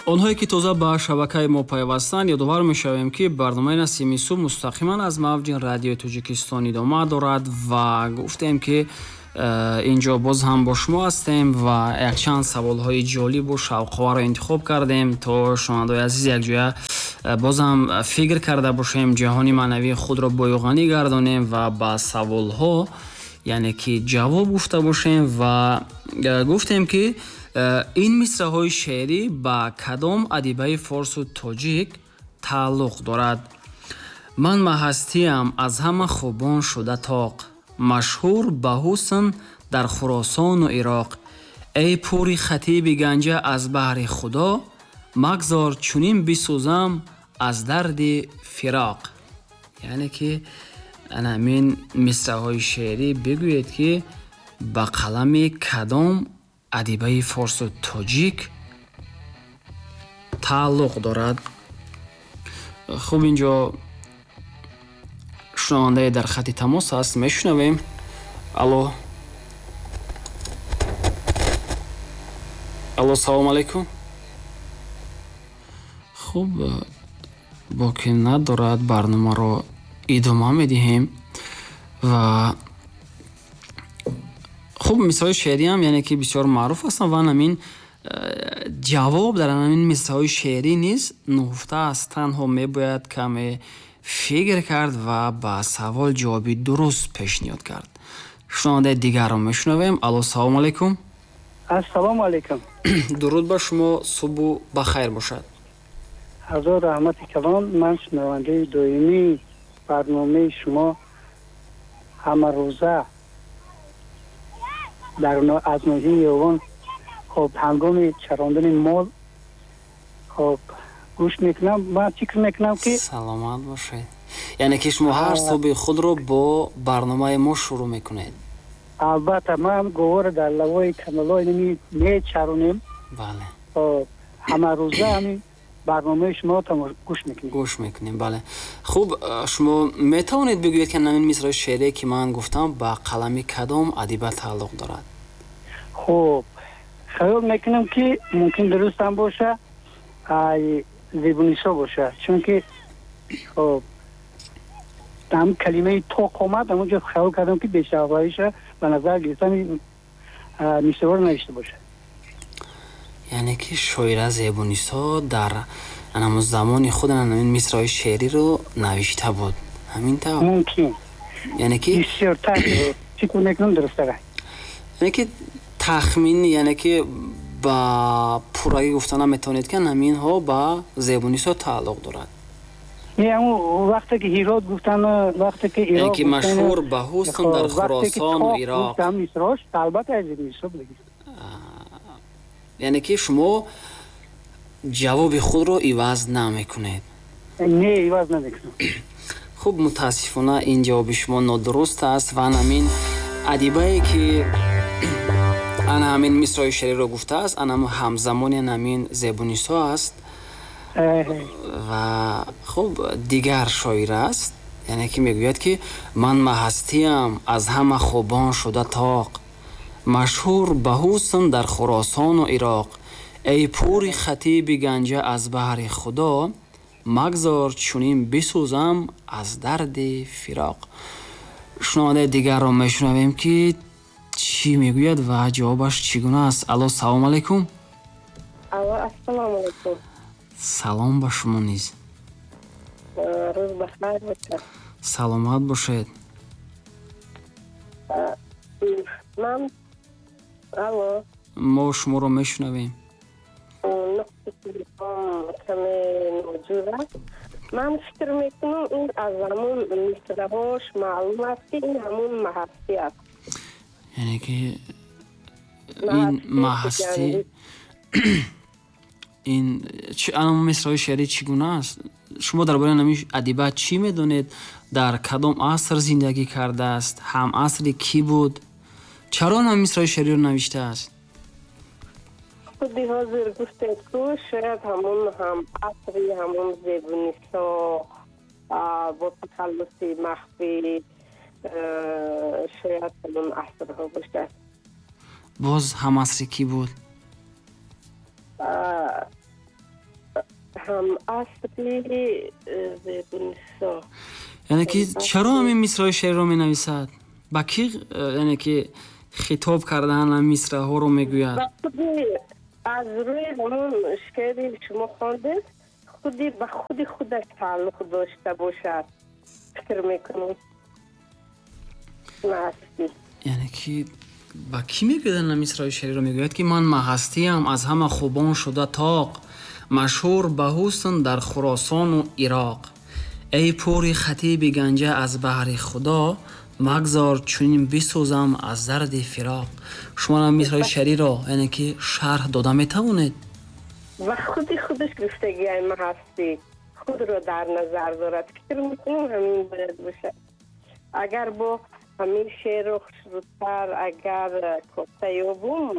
Онҳое ки тоза ба шабакаи мо пайвастанд, ёдовар мешавем, ки барномаи Насими субҳ мустақиман аз мавҷи радиои Тоҷикистон идома дорад ва гуфтем, ки инҷо боз ҳам бо шумо ҳастем ва якчанд саволҳои ҷолибу шавқоварро интихоб кардем, то шунавандаои азиз якҷоя боз ҳам фикр карда бошем, ҷаҳони маънавии худро боюғанӣ гардонем ва ба саволҳо яъне ки ҷавоб гуфта бошем. Ва гуфтем, ки ин мисраҳои шеърӣ ба кадом адибаи форсу тоҷик тааллуқ дорад? Ман маҳастиям аз ҳама хубон шуда тоқ, машҳур ба ҳусн дар Хуросону Ироқ. Эй пури хатиби Ганҷа, аз баҳри Худо магзор чунин бисӯзам аз дарди фироқ. Яъне ки ана ҳамин мисраҳои шеърӣ бигӯед, ки ба қалами кадом адибаи форсу тоҷик тааллуқ дорад? Хуб, инҷо шунавандае дар хати тамос аст, мешунавем. Алло, алло, салому алайкум. Хуб, боке надорад, барномаро идома медиҳем. Ва хуб, мисраҳои шеъриам яъне ки бисёр маъруф ҳастанд ва ҳамин ҷавоб дар ҳамин мисраҳои шеърӣ низ нуҳуфта аст. Танҳо мебояд каме фикр кард ва ба савол ҷавоби дуруст пешниҳод кард. Шунавандаи дигарро мешунавем. Алло, салому алайкум. Ассалому алайкум. Дуруд ба шумо, субҳу бахайр бошад. Ҳазор раҳмати калон. Ман шунавандаи доимии барномаи шумо, ҳамарӯза аз ноҳияи Ёвон. Хоб, ҳангоми чарондани мол, хоб, гӯш мекунам. Ман фикр мекунам, ки Саломат бошед. Яъне ки шумо ҳар субҳи худро бо барномаи мо шурӯъ мекунед? Албатта, ман говора дар лавои каналҳои мечаронем. Ҳамарӯза ҳамин барномаи шумо гӯш мекунем. Гӯш мекунем, бале. Хуб, шумо метавонед бигӯед, ки ҳамин мисраи шеърие, ки ман гуфтам, ба қалами кадом адиба тааллуқ дорад? Хуб, хаёл мекунам, ки мумкин дурустам боша, ай Зебунисо боша, чунки хоб, ҳам калимаи тоқ омад, ҳамонҷо хаёл кардам, ки бешавлаиша ба назар гирифтани мисраҳоро навишта бошад. Яъне ки шоира Зебунисо дар ҳамон замони худ ҳамин мисраҳои шеъриро навишта буд, ҳамин тавр? Мумкин. Яъне ки бисёртар фикр мекунам, дурусттара. Яъне ки тахмин, яъне ки ба пуррагӣ гуфта наметавонед, ки ҳаминҳо ба Зебунисо тааллуқ дорад? Не, ҳамун вақте ки Ҳирот гуфтан, вақте ки Ироқ, ки машҳур ба ҳусн дар Хуросону Ироқ, мисрош албатта аз Зебунисо буд. Яъне ки шумо ҷавоби худро иваз намекунед? Не, иваз намекунам. Хуб, мутаассифона, ин ҷавоби шумо нодуруст аст ва ҳамин адибае, ки ана ҳамин мисраи шеъриро гуфтааст, ана ҳамзамони ҳамин Зебунисо аст ва хуб, дигар шоир аст. Яъне ки мегӯяд, ки ман маҳастиям аз ҳама хубон шуда тоқ, машҳур ба ҳусн дар Хуросону Ироқ. Эй пури хатиби Ганҷа, аз баҳри Худо магзор чунин бисӯзам аз дарди фироқ. Шунавандаи дигарро мешунавем, ки чӣ мегӯяд ва ҷавобаш чӣ гуна аст. Алло, салому алайкум. Алло, ассалому алайкум. Салом ба шумо низ. Рӯз бахайр бошад. Саломат бошед. Ман, алло. Мо шуморо мешунавем. Нуқси телефон каме ноҷур аст. Ман фикр мекунам, ин аз ҳамун мисраҳош маълум аст, ки ин ҳамун маҳастӣ аст. Яъне ки ин маҳастӣ, ин ана мисраҳои шеърӣ чӣ гуна аст? Шумо дар бораи ҳамин адиба чӣ медонед? Дар кадом аср зиндагӣ кардааст? Ҳамасри кӣ буд? Чаро ҳамин мисраҳои шеъриро навиштааст? Худи ҳозир гуфтед ку, шояд ҳамун ҳам асри ҳамун Зебунисо бо тахаллуси махфӣ, шояд ҳамун асрҳо бошад. Боз ҳамасри кӣ буд? Ҳамасри Зебунисо. Яъне ки чаро ҳамин мисраи шеърро менависад? Ба кӣ, яъне ки хитоб кардан ҳамин мисраҳоро мегӯяд? Аз рӯи ҳамон шеъри шумо хондед, худи ба худи худаш тааллуқ дошта бошад, фикр мекунам. Маҳастӣ. Яъне ки ба кӣ мегӯяд ҳамин мисраи шеъриро? Мегӯяд ки ман маҳастиям, аз ҳама хубон шуда тоқ, машҳур ба ҳусн дар Хуросону Ироқ. Эй пури хатиби Ганҷа, аз баҳри Худо магзор чунин бисӯзам аз дарди фироқ. Шумо ҳамин мисраи шеъриро, яъне ки шарҳ дода метавонед? Ва худи худаш гуфтагиай маҳастӣ худро дар назар дорад. Фикр мекунам ҳамин бояд бошад. Агар бо ҳамин шеърро хушрӯтар агар кофта ёбум,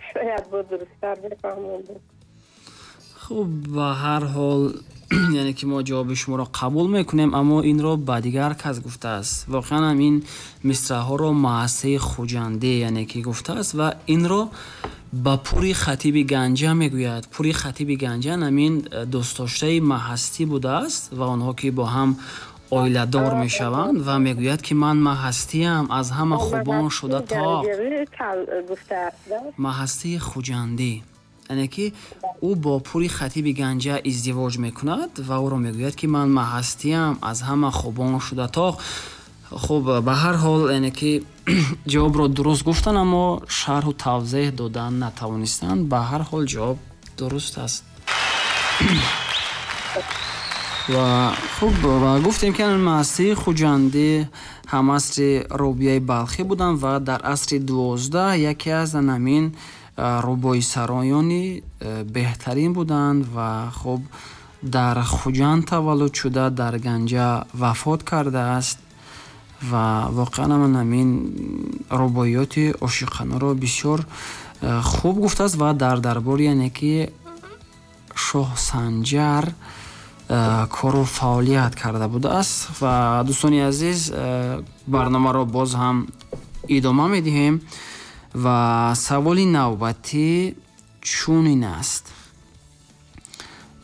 шояд бо дурусттар бифаҳмам. Хуб, ба ҳар ҳол, яъне ки мо ҷавоби шуморо қабул мекунем, аммо инро ба дигар кас гуфтааст. Воқеан ҳам ин мисраҳоро Маҳастии Хуҷандӣ, яъне ки гуфтааст ва инро ба пури хатиби Ганҷа мегӯяд. Пури хатиби Ганҷа ҳамин дӯстдоштаи Маҳастӣ будааст ва онҳо ки бо ҳам оиладор мешаванд ва мегӯяд ки ман маҳастиям, аз ҳама хубон шуда тоқ. Маҳастии Хуҷандӣ, яъне ки ӯ бо пури хатиби Ганҷа издивоҷ мекунад ва ӯро мегӯяд ки ман маҳастиям, аз ҳама хубон шуда тоқ. Хуб, ба ҳар ҳол, яъне ки ҷавобро дуруст гуфтан, аммо шарҳу тавзеҳ додан натавонистанд. Ба ҳар ҳол ҷавоб дуруст аст. Ва хуб, ва гуфтем ки Маҳастии Хуҷандӣ ҳамасри Робияи Балхӣ буданд ва дар асри 12 яке аз ҳамин рубоисароёни беҳтарин буданд ва хуб дар Хуҷанд таваллуд шуда, дар Ганҷа вафот кардааст ва воқеан ҳамин рубоиёти ошиқонаро бисёр хуб гуфтааст ва дар дарбори, яъне ки Шоҳ Санҷар кору фаъолият карда будааст. Ва дӯстони азиз, барномаро боз ҳам идома медиҳем ва саволи навбатӣ чунин аст.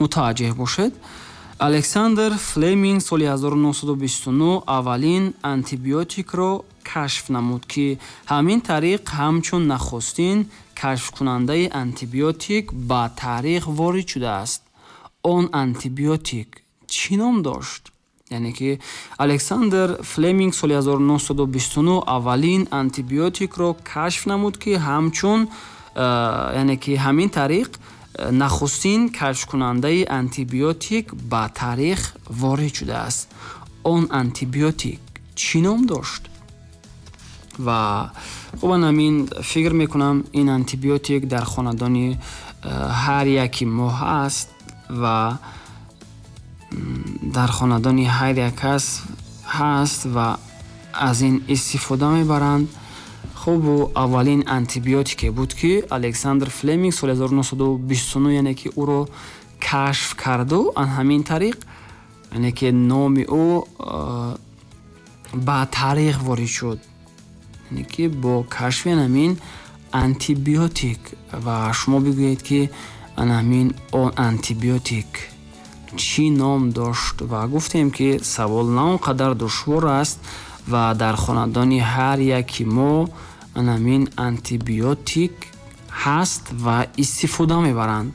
Мутаваҷҷеҳ бошед. Александр Флеминг соли 1929 аввалин антибиотикро кашф намуд, ки ҳамин тариқ ҳамчун нахустин кашфкунандаи антибиотик ба таърих ворид шудааст. Он антибиотик чӣ ном дошт? Яъне ки Александр Флеминг соли 1929 аввалин антибиотикро кашф намуд, ки ҳамчун, яъне ки ҳамин тариқ нахустин кашфкунандаи антибиотик ба таърих ворид шудааст. Он антибиотик чӣ ном дошт? Ва хуб, ҳамин фикр мекунам ин антибиотик дар хонадони ҳар яки мо ҳаст ва дар хонадони ҳар як кас ҳаст ва аз ин истифода мебаранд. Хуб, аввалин антибиотике буд ки Александр Флеминг соли 1929, яъне ки ӯро кашф карду ҳамин тариқ, яъне ки номи ӯ ба таърих ворид шуд, яъне ки бо кашфи ҳамин антибиотик. Ва шумо бигӯед ки ҳамин он антибиотик чӣ ном дошт? Ва гуфтем ки савол на он қадар душвор аст ва дар хонадони ҳар яки мо ҳамин антибиотик ҳаст ва истифода мебаранд.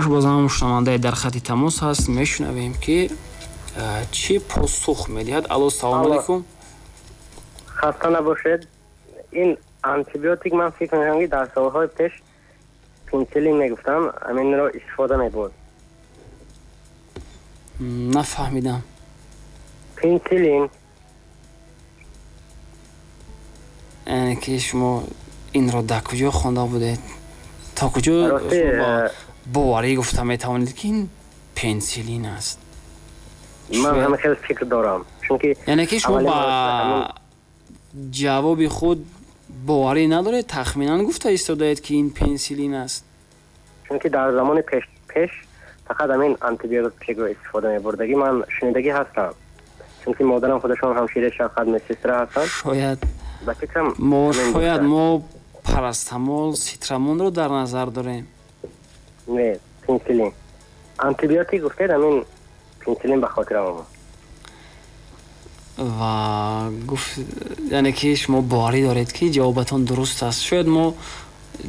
Хуб, боз ҳам шунавандаи дар хати тамос ҳаст, мешунавем ки чӣ посух медиҳад. Алло, салому алайкум. Хаста набошед. Ин антибиотик ман фикр мекунам ки дар солҳои пеш пенсилин мегуфтам, ҳаминро истифода мебурд. Нафаҳмидам. Пенсилин. Яъне ки шумо инро дар куҷо хонда будед? То куҷо шумо боварӣ гуфта метавонед ки ин пенсилин аст? Ман ҳама хеле фикр дорам, чунки яъне ки шумо ба ҷавоби худ боварӣ надоред, тахминан гуфта истодаед ки ин пенсилин аст. Чунки дар замони пеш фақат ҳамин антибиотикро истифода мебурдагӣ ман шунидагӣ ҳастам, чунки модарам худашон ҳамшираи шафқат медсестра ҳастанд. Шояд мо, шояд мо парастамол, ситрамонро дар назар дорем. Не, пенисиллин. Антибиотик гуфтед, ҳамин пенисиллин ба хотирам омад. Ва гуфт, яъне ки шумо боварӣ доред, ки ҷавобатон дуруст аст. Шояд мо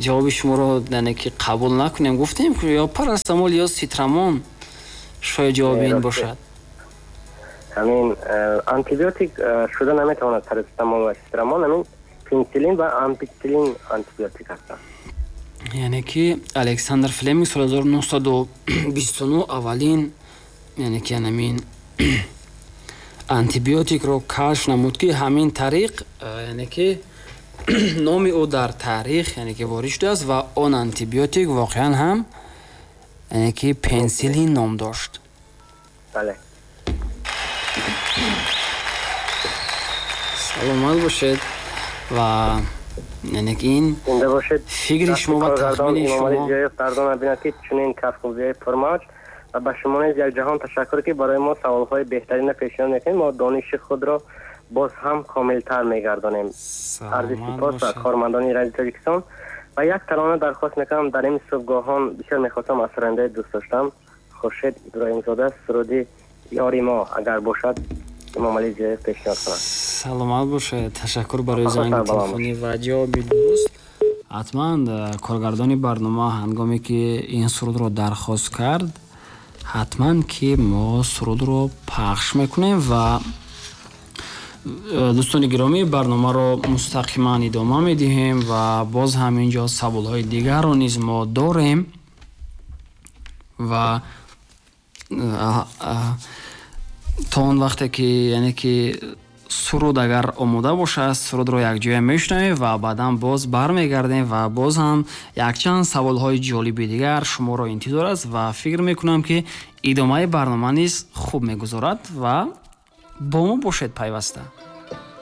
ҷавоби шуморо, яъне ки, қабул накунем. Гуфтем, ё парастамол, ё ситрамон шояд ҷавоби ин бошад. Ҳамин антибиотик шуда наметавонад парацетамол ва ситрамон, ҳамин пенисиллин ва ампитсиллин антибиотик ҳастанд. Яъне ки Александр Флеминг соли 1929 аввалин, яъне ки, ҳамин антибиотикро кашф намуд, ки ҳамин тариқ, яъне ки, номи ӯ дар таърих, яъне ки, ворид шудааст ва он антибиотик воқеан ҳам, яъне ки, пенсилин ном дошт. Бале. Саломат бошед ва, яъне ки, ин зинда бошед. Фикри шумо ва тахмини шумо. Фардона бинад, ки чунин кафкӯбиҳои пурмавҷ, ва ба шумо низ як ҷаҳон ташаккур, ки барои мо саволҳои беҳтаринро пешниҳод мекунед. Мо дониши худро боз ҳам комилтар мегардонем. Арзи сипос ба кормандони Радиои Тоҷикистон ва як тарона дархост мекунам дар ин субҳгоҳон. Бисёр мехостам аз сурандаи дӯст доштам, Хуршед Иброҳимзода, суруди «Ёри мо», агар бошад, Эмомалӣ Зиёев пешниҳод кунад. Саломат бошед, ташаккур барои занги телефонӣ ва ҷавоби дуруст. Ҳатман коргардони барнома ҳангоме ки ин сурудро дархост кард, ҳатман ки мо сурудро пахш мекунем. Ва дӯстони гиромӣ, барномаро мустақиман идома медиҳем ва боз ҳам инҷо саволҳои дигарро низ мо дорем ва то он вақте ки, яъне ки, суруд агар омода бошад, сурудро якҷоя мешунавем ва баъдан боз бармегардем ва боз ҳам якчанд саволҳои ҷолиби дигар шуморо интизор аст ва фикр мекунам, ки идомаи барнома низ хуб мегузорад ва бо мо бошед пайваста.